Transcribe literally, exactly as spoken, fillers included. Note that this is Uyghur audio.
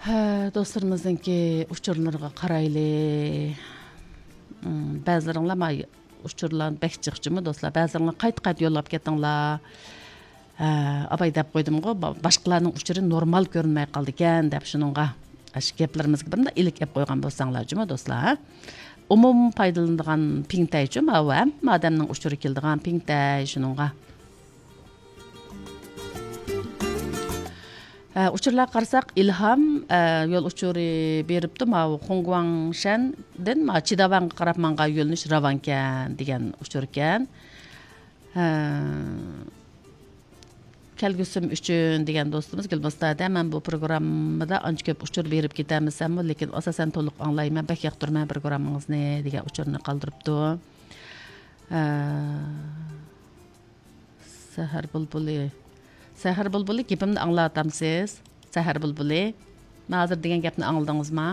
ھە، دوستلىرىمىزنىڭكى ئۇچۇرلىرىغا قارايلى. ئىم، بەزىلىرىڭلار ما ئۇچۇرلار بەك جىق جۇمۇ دوستلار. بەزىلىرىڭلار قايتا-قايتا يوللاپ كەتتىڭلار. ھە، ئاباي دەپ قويدۇمغۇ، با-، باشقىلارنىڭ ئۇچۇرى نورمال كۆرۈنمەي قالىدىكەن دەپ شۇنىڭغا. ئاشۇ گەپلىرىمىزگە بىر مۇنداق ئىلىك ئېلىپ قويغان بولساڭلار جۇمۇ دوستلار، ھە؟ ئومۇم پايدىلىنىدىغان پىڭتەي جۇمۇ، ھەممە ئادەمنىڭ ئۇچۇرى كېلىدىغان پىڭتەي شۇنىڭغا. ئە، ئۇچۇرلارغا قارىساق، ئىلھام، ئە، يول ئۇچۇرى بېرىپتۇ، ماۋۇ خۇڭگۇاڭشەندىن ماۋۇ چىداۋەنگە قاراپ ماڭغان يۆنىلىش راۋانكەن دېگەن ئۇچۇركەن. ئە، كەلگۈسىم ئۈچۈن دېگەن دوستىمىز گۈلمۇستەدە، مەن بۇ پروگراممىدا ئانچە كۆپ ئۇچۇر بېرىپ كېتەلمىسەممۇ، لېكىن ئاساسەن تولۇق ئاڭلايمەن، بەك ياقتۇرىمەن پروگراممىڭىزنى دېگەن ئۇچۇرنى قالدۇرۇپتۇ. ئە، سەھەر بۇلبۇلى. سەھەر بۇلبۇلى، گېپىمنى ئاڭلاۋاتامسىز؟ سەھەر بۇلبۇلى. مەن ھازىر دېگەن گەپنى ئاڭلىدىڭىزما؟